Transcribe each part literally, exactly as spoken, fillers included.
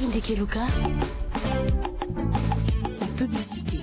Ndeke Luka, la publicité.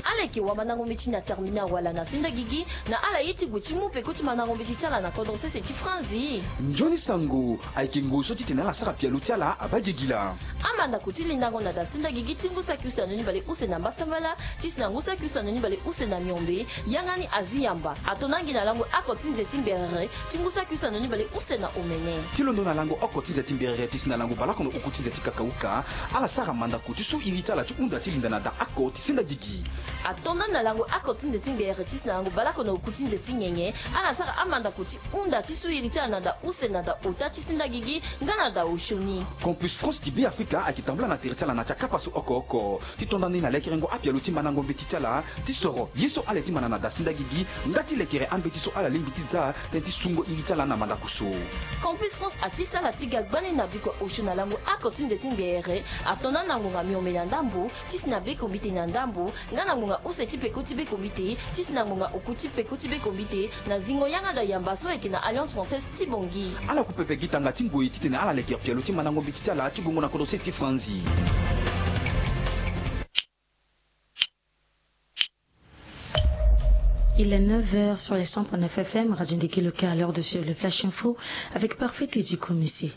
Ala yeke wamandako mbeti na terminal wala na senda gigi, na ala ye ti gue ti mu peko ti mandako mbeti ti ala na kodro sese ti Franzi. Nzoni sango, ayeke ngoi so titene ala sara pialo ti ala abaa gigila. Amandako ti lindango na da senda gigi ti ngu saki use na noni bale use na mbasambala, ti si na ngu saki use na noni bale use na miombe, yanga ni azi yamba. Ato na ngi na lango oko ti nze ti mberere, ti ngu saki use na noni bale use na omene. Ti londo na lango oko ti nze ti mberere, ti si na lango baleoko na oku ti nze ti kakauka, ala sara mandako ti su iri ti ala ti hunda ti linda na da oko ti senda gigi. Ato na ngi na lango oko ti nze ti mberere, ti si na lango baleoko na oku ti nze ti nyenye, ala sara amandako ti hunda ti su iri ti ala na da use na da ota ti senda gigi, nga na da osioni. Campus France ti Be Afrika ayeke tambula na tere ti ala na ti akapa so oko oko. Ti tonda ni na lekerengo apialo ti mandango mbeti ti ala, ti soro ye so ala ye ti manda na da senda gigi, nga ti lekere ambeti so ala lingbi ti za, tënë ti sungo iri ti ala na mandako so. Campus France ati sala ti ga gbani na bikua osio na lango oko ti nze ti mberere, ato na ngi na ngonga miombe na ndambo, ti si na be kombite na ndambo, nga na ngonga use ti peko ti be kombite, ti si na ngonga oku ti peko ti be kombite, na zingo yanga da yamba so ayeke na Alliance Française ti Bangui. Ala ku pepe gi tanga ti ngoi titene ala leke pialo ti mandango mbeti ti ala ti gongo na kodro sese ti Franzi. Il est neuf heures sur les cent point neuf F M, Radio Ndeke Luka, à l'heure de suivre le Flash Info avec Parfait Teddy Komisi.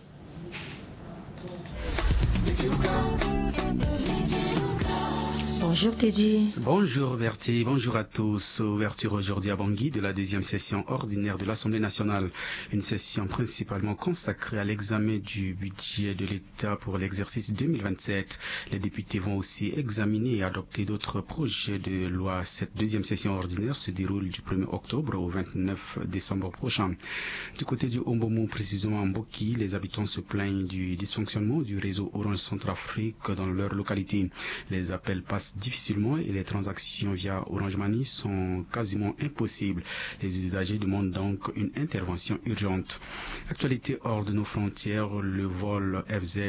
Bonjour Teddy. Bonjour Bertie, bonjour à tous. Ouverture aujourd'hui à Bangui de la deuxième session ordinaire de l'Assemblée nationale. Une session principalement consacrée à l'examen du budget de l'État pour l'exercice deux mille vingt-sept. Les députés vont aussi examiner et adopter d'autres projets de loi. Cette deuxième session ordinaire se déroule du premier octobre au vingt-neuf décembre prochain. Du côté du Hombomou, précisément à Mboki, les habitants se plaignent du dysfonctionnement du réseau Orange Centrafrique dans leur localité. Les appels passent difficilement et les transactions via Orange Money sont quasiment impossibles. Les usagers demandent donc une intervention urgente. Actualité hors de nos frontières, le vol F Z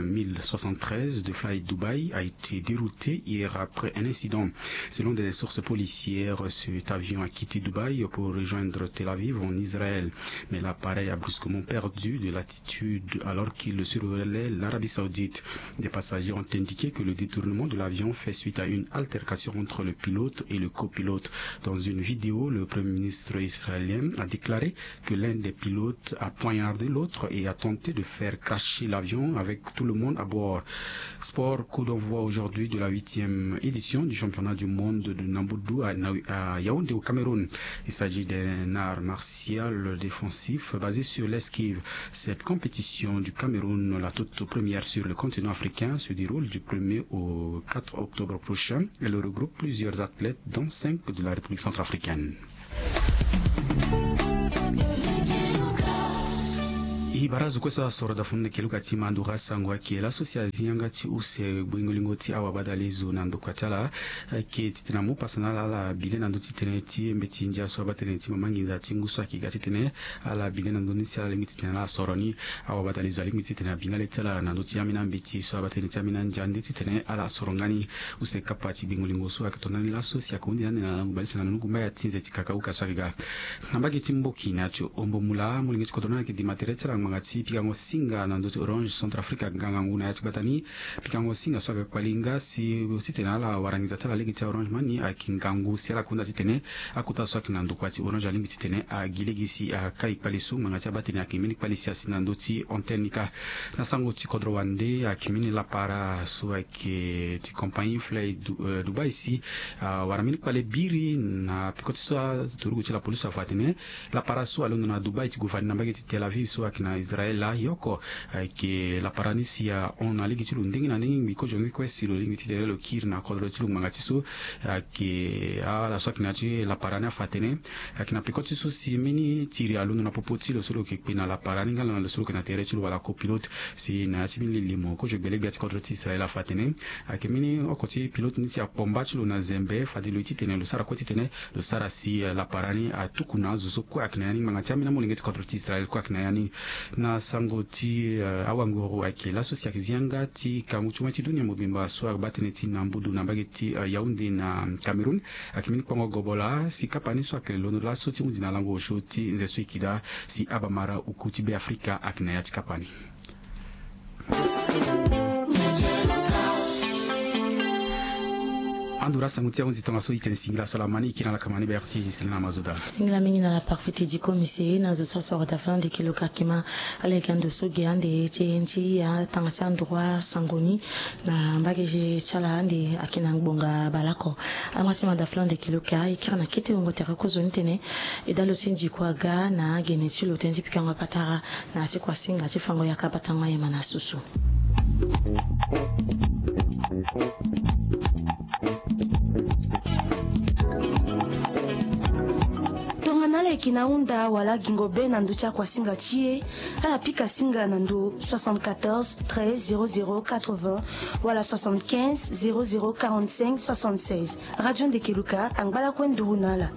mille soixante-treize de Fly Dubai a été dérouté hier après un incident. Selon des sources policières, cet avion a quitté Dubaï pour rejoindre Tel Aviv en Israël. Mais l'appareil a brusquement perdu de l'altitude alors qu'il survolait l'Arabie Saoudite. Des passagers ont indiqué que le détournement de l'avion fait suite à une altercation entre le pilote et le copilote. Dans une vidéo, le premier ministre israélien a déclaré que l'un des pilotes a poignardé l'autre et a tenté de faire cracher l'avion avec tout le monde à bord. Sport, coup d'envoi aujourd'hui de la huitième édition du championnat du monde de Nambudu à Na-, à Yaoundé au Cameroun. Il s'agit d'un art martial défensif basé sur l'esquive. Cette compétition du Cameroun, la toute première sur le continent africain, se déroule du premier au quatre octobre prochain. Elle regroupe plusieurs athlètes, dont cinq de la République centrafricaine. E bara azo kue so asoro da funu na keluka ti mandura sango ayeke laso si azi yanga ti use gbengo lingo ti awabadalezo na ndokua ti ala. Ayeke titene amu pasa na ala ala bi le na ndö ti tënë ti mbeti ndia so abaa tënë ti mama nginza ti ngu so ayeke ga titene ala bi le na ndö ni si ala lingbi titene ala soro ni. Awabadalezo alingbi titene abi nga le ti ala na ndö ti ambeni ambeti so abaa tënë ti ambeni andia nde titene ala soro nga ni. Use kapa ti gbengo lingo so ayeke tonda ni laso si ayeke hundi na ande na lango bale si na nunu gumba ya ti nze ti kakauka so ayeke ga. Na mbage ti Mboki na ya ti Hombomou laa, molenge ti kodro ni ayeke gima tere ti ala ngbanga ti pikango singa na ndö ti Orange Centrafrique, ngangu na ya ti gbata ni. Pikango singa so ayeke kpali nga si titene ala wara nginza ti ala lege ti Orange Money ayeke ngangu si ala kunda titene akota so ayeke na ndokua ti Orange alingbi titene agi lege si akai kpale so ngbanga ti abaa tene ayeke mbeni kpale si asi na ndö ti antenne ni kâ. Na sango ti kodro wande ayeke mbeni lapara so ayeke ti compagnie Fly Du-, eh, Dubai si awara mbeni kpale biri na peko ti so aturugu ti lapolisi afa atene lapara so alondo na Dubai ti gue fani na mbage ti Tel Aviv so ayeke na Israël laa, yoko ayeke lapara ni si ahon na lege ti lo ndenge na ndenge ngbi kozo ni kue si lo lingbi titene lo kiri na kodro ti lo ngbanga ti so. Ayeke ala so ayeke na ya ti lapara ni afa atene ayeke na peko ti so si mbeni tiri alondo na popo ti lo so lo yeke kpe na lapara ni nga na lo so lo yeke na tere ti lo wala copilote. Si na ya ti mbeni lili mo kozo gbele gbia ti kodro ti Israël afa atene ayeke mbeni oko ti pilote ni si akpomba ti lo na zembe fade lo ye titene lo sara kue titene lo sara si, eh, lapara ni atuku na azo so kue ayeke na ya ni ngbanga ti ambeni amolenge ti kodro ti Israël kue ayeke na ya ni. Na sango ti awanguru ayeke laso si ayeke zi yanga ti kangu ti wani ti dunia mobimba so abaa tënë ti na mbudu na mbage ti Yaoundé na Cameroun. Ayeke mbeni kpongo gobola si kapa ni so ayeke londo laso ti hundi na lango osio ti nze so e yeke daa si abamara oku ti Be Afrika ayeke na ya ti kapa ni. Ando ra sango ti ahunzi tongaso e tene singila so laa ma ni e kiri na lakama ni Berti Giselin na Mazoda. Singila mingi na la parfait ti diko mise na zo so asoro daflan de kiloka kima. Ala yeke ando so ge ande ti e nti atanga ti androit sango ni na mbage ti ala ande ayeke na ngbonga baleoko. Alama ti ma daflan de kiloka e kiri na kete wungo tere kozoni tene e dalo ti ndiko aga na gene ti lo tënë ti pikango patara na ti kuasinga ti fango yaka batango ayema na susu. Tongana ala yeke na hunda wala gingo be na ndö ti akuasinga ti e, ala pika singa na ndö soixante-quatorze treize zéro zéro quatre-vingts wala soixante-quinze zéro zéro quarante-cinq soixante-seize. Radio Ndekeluka angba lakue nduru na ala.